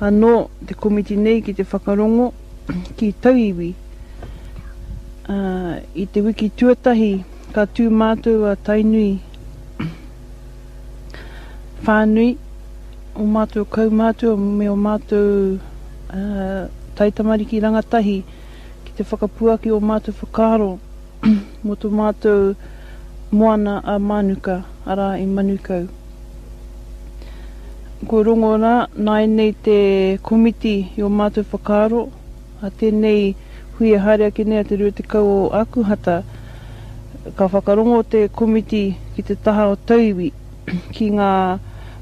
anō te komiti nei ki te whakarongo ki tauiwi. Ā, i te wiki tuatahi ka tū mātou a Tainui whānui, ō mātou kaumātua me ō mātou taitamariki rangatahi ki te whakapuaki ō mātou whakaaro mō tō mātou moana a Mānuka, arā i Manukau. Kua rongo rā nāianei te komiti i ō mātou whakaaro, a tēnei hui e haere ake nei a te 20 o Ākuhata, ka whakarongo te komiti ki te taha o tauiwi, ki ngā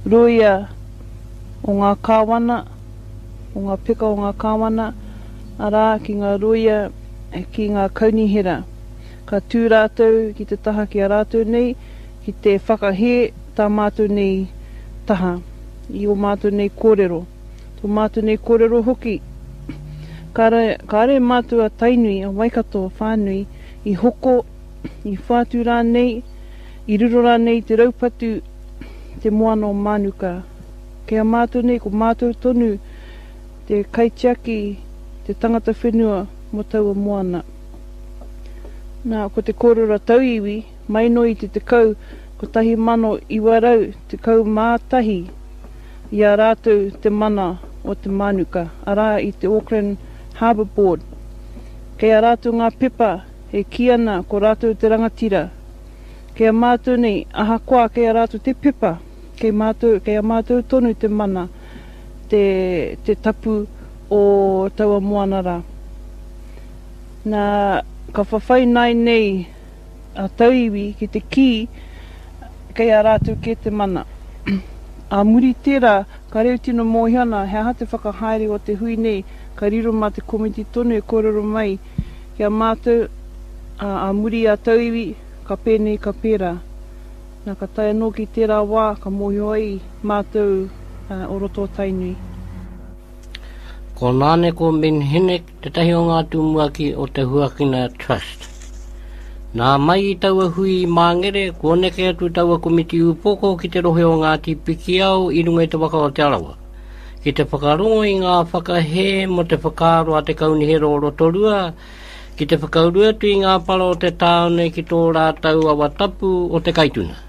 rōia o ngā kāwana, o ngā peka o ngā kāwana, arā, ki ngā rōia ki ngā kaunihera. Ka tū rātou ki te taha ki a rātou nei, ki te whakahē tā mātou nei taha i ō mātou nei kōrero. Tō mātou nei kōrero hoki, kāre, kāre mātou a Tainui, a Waikato whānui i hoko, i whātu rānei, i riro rānei i te raupatu te moana o Mānuka. Kei a mātou nei, ko mātou tonu te kaitiaki, te tangata whenua mō taua moana. Nā, ko te kōrero a tauiwi, mai noa i te tekau 1911 i a rātou te mana o te mānuka, arā i te Auckland Harbour Board. Kei a rātou ngā pepa e kī ana ko rātou te rangatira. Kei a mātou nei, ahakoa kei a rātou te pepa, kei mātou, kei a mātou tonu te mana, te, te tapu o taua moana rā. Nā, ka whawhai nāinei a tauiwi ki te kī kei a rātou kē te mana. Ā muri tērā, ka reo tino mōhio ana he aha te whakahaere o te hui nei, ka riro mā te komiti tonu e kōrero mai ki a mātou, ā, ā muri a tauiwi, ka pēnei, ka pērā. Nā, ka tae anō ki tērā wā, ka mōhio ai mātou o roto o Tainui. Ko Nāneko Minhinnick tētahi o ngā tumuaki o te Huakina Trust. Nā mai i taua hui i Māngere, kua neke atu taua komiti upoko ki te rohe o Ngāti Pikiao i runga i te waka o Te Arawa, ki te whakarongo i ngā whakahē mō te whakaaro a te Kaunihera o Rotorua ki te whakauru atu i ngā para o te tāone ki tō rātou awa tapu o Te Kaituna.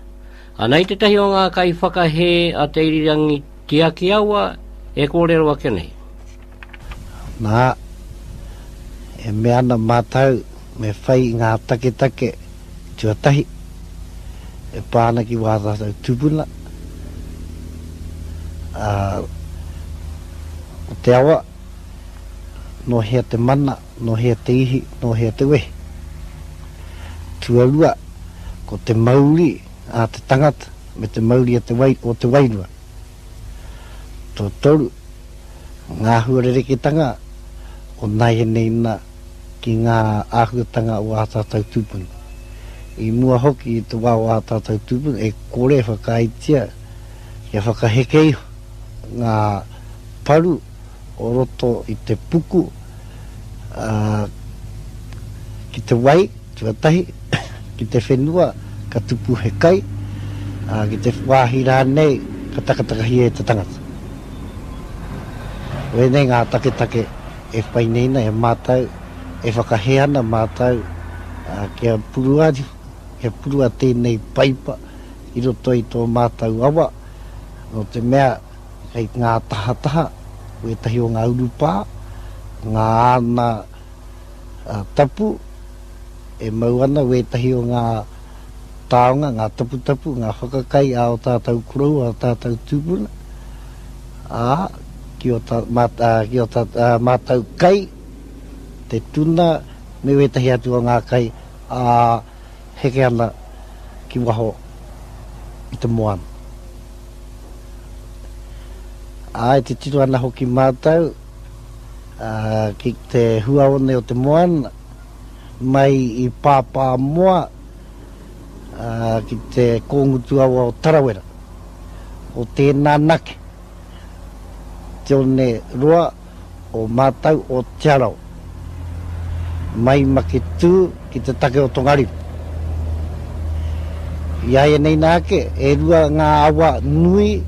Anei tētahi o ngā kaiwhakahē a Te Irirangi Tiakiawa e kōrero ake nei. Nā, e mea ana mātou me whai i ngā taketake tuatahi e pā ana ki wā tātou tūpuna, ā, ko te awa, nō hea te mana, nō hea te ihi, nō hea te wehi. Tuarua, ko te mauri a te tangata me te mauri a te wai, o te wairua. Tuatoru, ngā huarereketanga o nāianei nā ki ngā āhuatanga o ā tātou tūpuna. I mua hoki i te wā o ā tātou tūpuna e kore e whakaaetia kia whakaheke iho ngā paru o roto i te puku, ā, ki te wai, Tuatahi, ki te whenua ka tupu he kai, ā, ki te wāhi rānei ka takatakahia e te tangata. Koinei ngā taketake e whai nei na e mātou, e whakahē ana mātou kia purua, kia purua tēnei paipa i roto i tō mātou awa, nō te mea kei ngā tahataha wētahi o ngā urupā, ngā ana tapu, e mau ana wētahi o ngā taonga, ngā taputapu, ngā whakakai a ō tātou koroua, a ō tātou tūpuna, ā, ki ō tā, mā, ā, ki ō tā, ā, mātou kai, te tuna, me wētahi atu o ngā kai, ā, heke ana ki waho i te moana. Ā, e titiro ana hoki mātou, ā, ki te huaone o te moana, mai i Pāpāmoa, ā, ki te kōngutu awa o Tarawera. Ko tēnā anake te one roa o mātau o Te Arawa, mai Maketū ki te take o Tongariro. Iāianei nā ake, e rua ngā awa nui.